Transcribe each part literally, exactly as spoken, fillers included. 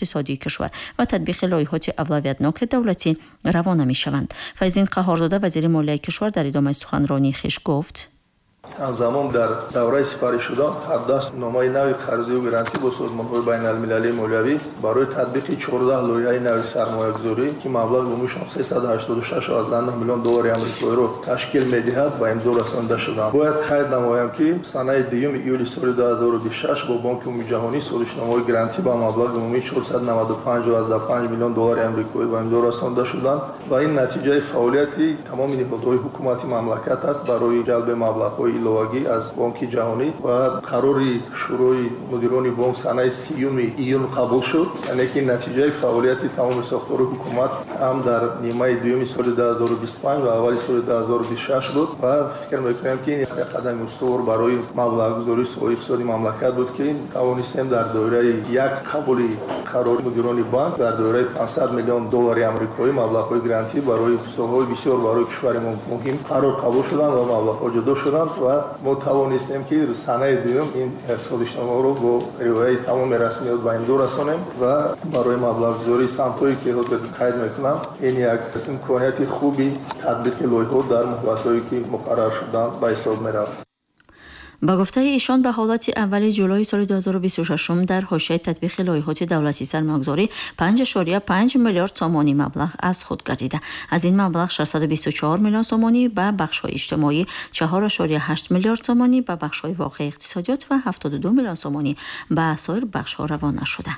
иқтисодии кишвар ва татбиқи лоиҳоти авлавиятноки давлатӣ равона мешаванд. Файзиддин Қаҳҳорзода, вазири молияи кишвар, дар идомаи суханронии хеш гуфт: ҳамзамон дар давраи сипаришуда ҳабдаҳ номаи нави қарзию грантӣ бо созмонҳои байналмилалии молиявӣ барои татбиқи чордаҳ лоиҳаи нави сармоягузорӣ, ки маблағи умумишон сесаду ҳаштоду шаш миллион доллари амрикоиро ташкил медиҳад, ба имзо расонида шуданд. Бояд қайд намоям, ки санаи дуюми июли соли ду ҳазору бисту шаш бо Бонки Умумиҷаҳонӣ созишномаҳои грантӣ ба маблағи умумии чорсаду наваду панҷ миллион доллари амрикоӣ ба имзо расонида шуданд ва ин натиҷаи фаъолияти тамоми ниҳодҳои ҳукумати мамлакат аст барои ҷалби маблағҳои иловагӣ аз Бонки Ҷаҳонӣ. Ва қарори Шӯрои мудирони бонк санаи сиюми июн қабул шуд, яъне ки натиҷаи фаъолияти тамоми сохтори ҳукумат ҳам дар нимаи дуюми соли ду ҳазору бисту панҷ ва аввали соли ду ҳазору бисту шаш буд ва фикр мекунем, ки ин як қадами устувор барои маблағгузории соҳаи иқтисоди мамлакат буд, ки тавонистем дар доираи як қабули қарори мудирони банк дар доираи панҷсад миллион доллари амрикоӣ маблағҳои грантӣ барои соҳаҳои бисёр барои кишвари мо муҳим қарор қабул шуданд ва маблағҳо ҷудо шуданд ва мо тавонистем, ки санаи дуюм ин созишномаро бо риояи тамоми расмиёт ба имзо расонем ва барои маблағгузории самтҳое, ки ҳозир қайд мекунам, ин як имконияти хуби татбиқи лоиҳаҳо дар муҳлатҳое, ки муқаррар шуданд, ба ҳисоб меравад. Ба гуфтаи эшон, ба ҳолати аввали ҷулои соли ду ҳазору бисту шашум дар ҳошияи татбиқи лоиҳоти давлатии сармоягузорӣ панҷ ишориya панҷ миллиард сомонӣ маблағ аз худ гардида. Аз ин маблағ шашсаду бисту чор миллион сомонӣ ба бахшҳои иҷтимоӣ, чаҳор ишориya ҳашт миллиард сомонӣ ба бахшҳои воқеии иқтисодиёт ва ҳафтоду ду миллион сомонӣ ба соир бахшҳо равона шуда.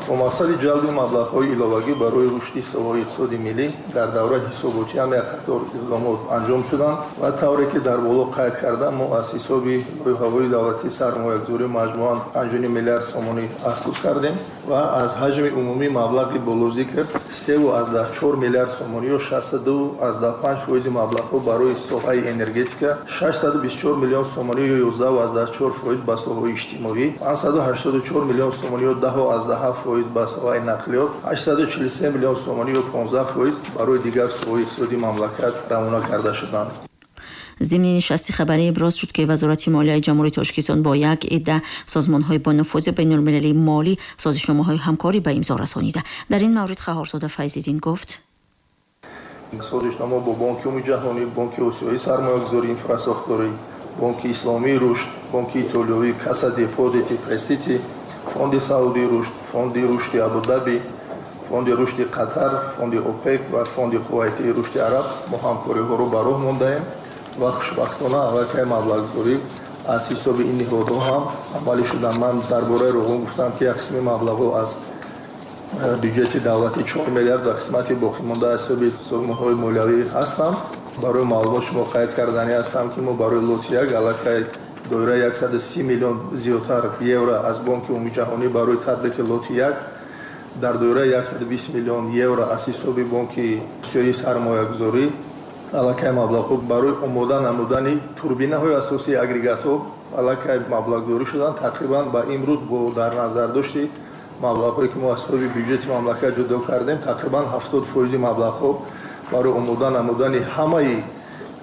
Бо мақсади ҷалби маблағҳои иловагӣ барои рушди соҳаҳои иқтисоди миллӣ дар давраи ҳисоботӣ ҳам як қатор иқдомот анҷом шуданд ва тавре ки дар боло қайд кардам, мо аз ҳисоби лоиҳаҳои давлатии сармоягузорӣ маҷмӯан панҷу ним миллиард сомонӣ аслуд кардем ва аз ҳаҷми умумии маблағи болозикр севу аздаҳ чор миллиард сомонӣ ё шасту ду аздаҳ панҷ фоизи маблағҳо барои соҳаи энергетика, шашсаду бисту чор миллион сомонӣ ё ёздаҳу аздаҳ чор фоиз ба соҳаҳои иҷтимоӣ, панҷсаду ҳаштоду чор миллион сомонӣ ё даҳу аздаҳ ҳафт фоиз ба соҳаи нақлиёт, ҳаштсаду чилу се миллион сомонӣ ё понздаҳ фоиз барои дигар соҳаҳои иқтисодии мамлакат равона карда шуданд. Зимни нишасти хабарӣ иброз шуд, ки Вазорати молияи Ҷумҳурии Тоҷикистон бо як идда созмонҳои бонуфузи байналмилалии молӣ созишномаҳои ҳамкорӣ ба имзо расонида. Дар ин маврид Қаҳҳорзода Файзиддин гуфт: созишнома бо Бонки Умумиҷаҳонӣ, Бонки Осиёии сармоягузории инфрасохторӣ, Бонки Исломии рушд, Бонки Итолиёвӣ Касса Депозити Престити, Фонди Саудии рушд, Фонди рушди Абудаби, Фонди рушди Қатар, Фонди ОПЕК ва Фонди Кувайтии рушди Араб мо ҳамкориҳоро ба роҳ мондаем ва хушбахтона аллакай маблағгузорӣ аз ҳисоби ин ниҳодҳо ҳам амалӣ шуданд. Ман дар бораи Роғун гуфтам, ки як қисми маблағҳо аз бюҷети давлатӣ чор миллиард ва қисмати боқимонда аз ҳисоби созмонҳои молиявӣ ҳастанд. Барои маълумот шумо қайд карданӣ ҳастам, ки мо барои лоти як аллакай доираи яксаду си миллион зиёдтар евро аз Бонки Умумиҷаҳонӣ барои татбиқи лоти як, дар доираи яксаду бист миллион евро аз ҳисоби Бонки Осиёии сармоягузорӣ аллакай маблағҳо барои омода намудани турбинаҳои асосии агрегатҳо аллакай маблағгузорӣ шуданд. Тақрибан ба имрӯз бо дар назардошти маблағҳое, ки мо аз ҳисоби бюҷети мамлакат ҷудо кардем, тақрибан ҳафтод фоизи маблағҳо барои омода намудани ҳамаи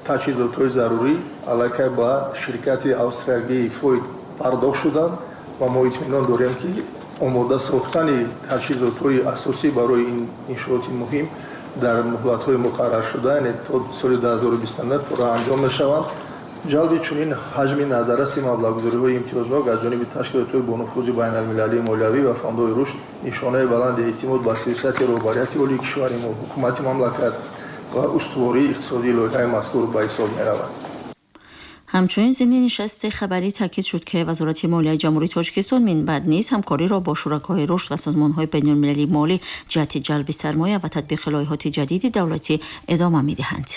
таҷҳизотҳои зарурӣ аллакай ба ширкати австриягии Фойд пардохт шуданд ва мо итминон дорем, ки омода сохтани таҷҳизотҳои асосӣ барои ин иншооти муҳим дар муҳлатҳои муқарраршуда, яъне то соли ду ҳазору бисту нӯҳ пурра анҷом мешаванд. Ҷалби чунин ҳаҷми назарраси маблағгузориҳои имтиёзнок аз ҷониби ташкилотҳои бонуфузи байналмилалии молиявӣ ва фондҳои рушд нишонаи баланди эътимод ба сиёсати роҳбарияти олии кишвари мо, ҳукумати мамлакат ва устувории иқтисодии лоиҳаи мазкур ба ҳисоб меравад. Ҳамчунин зимни нишасти хабарӣ таъкид шуд, ки Вазорати молияи Ҷумҳурии Тоҷикистон минбаъд низ ҳамкориро бо шуракои рушд ва созмонҳои байналмилалии молӣ ҷиҳати ҷалби сармоя ва татбиқи лоиҳоти ҷадиди давлатӣ идома медиҳанд.